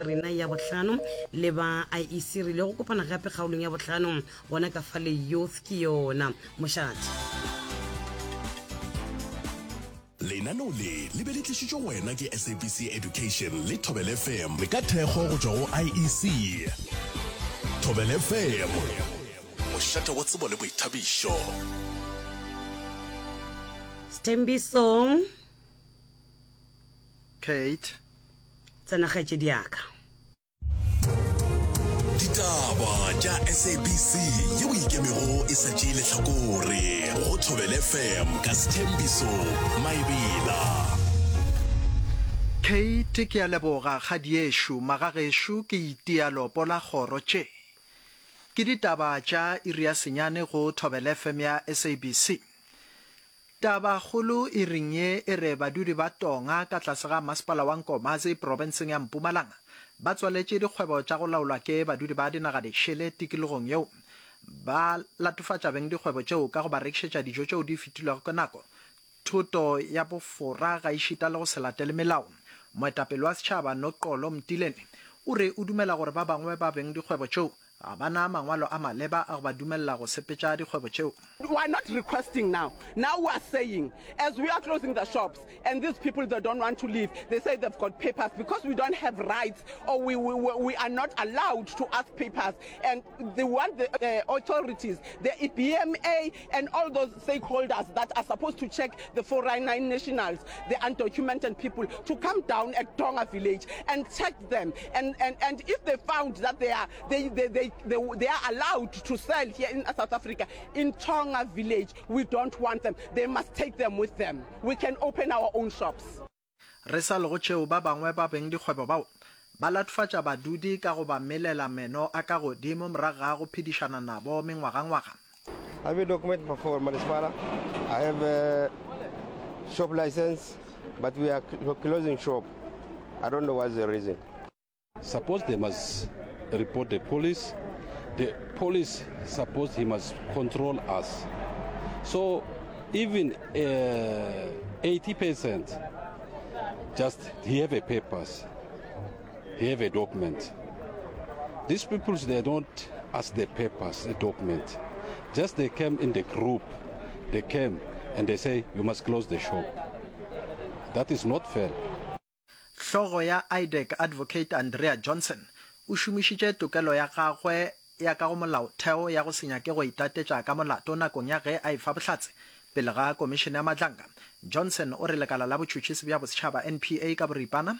Rena ya bohlano le ba IEC re ile go kopana gape kgaolong ya bohlano gona ka fale youth ke yona mošate. Lenaneo le le be le tlišitšwe go wena ke SABC Education le Thobela FM ka thekgo go tšwa go IEC. Thobela FM, mošate wa tsebo le boithabišo. Sthembiso. Kate. Tsena kgaetšedi ya ka. Ditaba tša SABC yeo e ikemego e sa tšee lehlakore go Thobela FM ka Sthembiso Maebela. Kate, Ke a leboga kgadiešo, magagešo ke itia lopo la kgoro tše. Ke ditaba tša iri ya senyane go Thobela FM ya SABC. Tabakgolo iring ye e re badudi ba Tonga ka tlase ga masepala wa Nkomazi profenseng ya Mpumalanga ba tswaletše dikgwebo tša go laolwa ke badudi ba dinaga dišele tikologong yeo. Ba latofatša bengdikgwebo tšeo ka go ba rekišetša dijo tšeo di fetilwego ke nako, thoto ya bofora gaešita le go se latele melao. Moetapele wa setšhaba Noxolo Mtileni o re o dumela gore ba bangwe ba bengdikgwebo tšeo Ga ba na mangwalo a maleba a go ba dumelela go sepetša dikgwebo tšeo. We are not requesting now, now we are saying as we are closing the shops and these people they don't want to leave, they say they've got papers because we don't have rights or we, we, we are not allowed to ask papers and they want the uh, authorities, the EBMA and all those stakeholders that are supposed to check the 499 nationals, the undocumented people to come down at Tonga village and check them and, and, and if they found that they are, they, they, they, they, they are allowed to sell here in South Africa, in Tonga village, we don't want them. They must take them with them. We can open our own shops. Re sa le go tšeo, ba bangwe ba bengdikgwebo bao ba latofatša badudi ka go ba melela meno a ka godimo morago ga go phedišana nabo mengwagangwaga. I have a document for Manismala. I have a shop license, but we are closing shop. I don't know what's the reason. Suppose they must report the police. The police suppose he must control us. So even uh, 80% just he have a papers, he have a document. These people they don't ask the papers, the document. Just they came in the group, they came and they say you must close the shop. That is not fair. Hlogo ya IDAC Advocate Andrea Johnson o šomišitše tokelo ya gagwe ya ka go molaotheo ya go se nyake go itatetša ka molato nakong ya ge a efa bohlatse pele ga Komišene ya Madlanga. Johnson o re lekala la botšhotšhisi bja bosetšhaba, NPA ka boripana,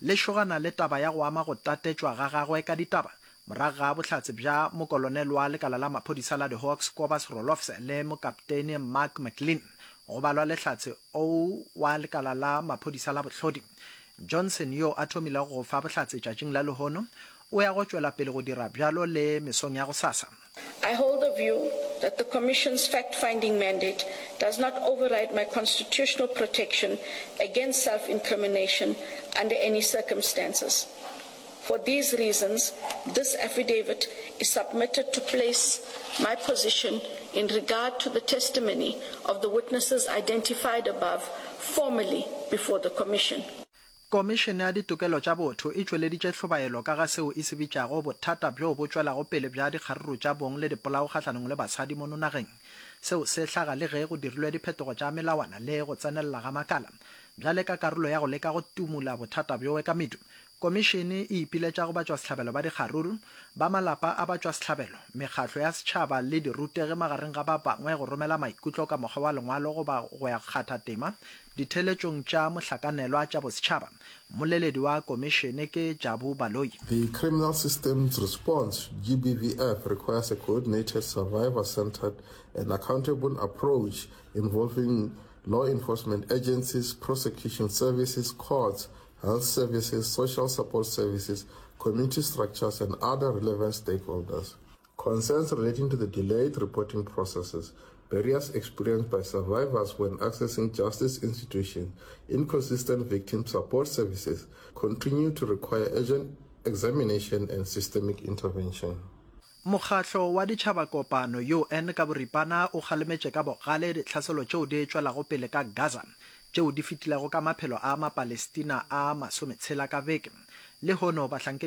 le šogana le taba ya go ama go tatetšwa ga gagwe ka ditaba morago ga bohlatse bja mokolonel wa lekala la maphodisa la di-Hawks Kobus Roelofse le mokapteine Mark McLean go balwa le hlatse O wa lekala la maphodisa la bohlodi. Johnson yo a thomilego go fa bohlatse tšatšing la lehono, o ya go tšwela pele go dira bjalo le mesong ya gosasa. I hold the view that the Commission's fact-finding mandate does not override my constitutional protection against self-incrimination under any circumstances. For these reasons, this affidavit is submitted to place my position in regard to the testimony of the witnesses identified above formally before the Commission. Komišene ya Ditokelo tša Botho e tšweleditše hlobaelo ka ga seo e se bitšago bothata bjo bo tšwelago pele bja dikgaruru tša bong le dipolao kgahlanong le basadi mono nageng. Seo se hlaga le ge go dirilwe diphetogo tša melawana le go tsenelela ga makala bjale ka karolo ya go leka go tumula bothata bjoe ka medu. Komišene e ipiletša go batšwasehlabelo ba dikgaruru, ba malapa a batšwasehlabelo, mekgatlo ya setšhaba le dirutegi magareng ga ba bangwe go romela maikutlo ka mokgwa wa lengwalo goba go ya kgatha tema ditheeletšong tša mohlakanelwa tša bosetšhaba. Mmoleledi wa komišene ke Jabu Baloyi. The criminal system's response GBVF requires a coordinated, survivor-centered and accountable approach involving law enforcement agencies, prosecution services, courts, health services, social support services, community structures and other relevant stakeholders. Concerns relating to the delayed reporting processes, barriers experienced by survivors when accessing justice institutions, inconsistent victim support services continue to require urgent examination and systemic intervention. Mokgatlo wa Ditšhabakopano, UN, ka boripana o kgalemetše ka bogale ditlhaselo tšeo di tšwelago pele ka Gaza, tšeo di fetilego ka maphelo a Mapalestina a masometshela ka beke. Lehono bahlankedi.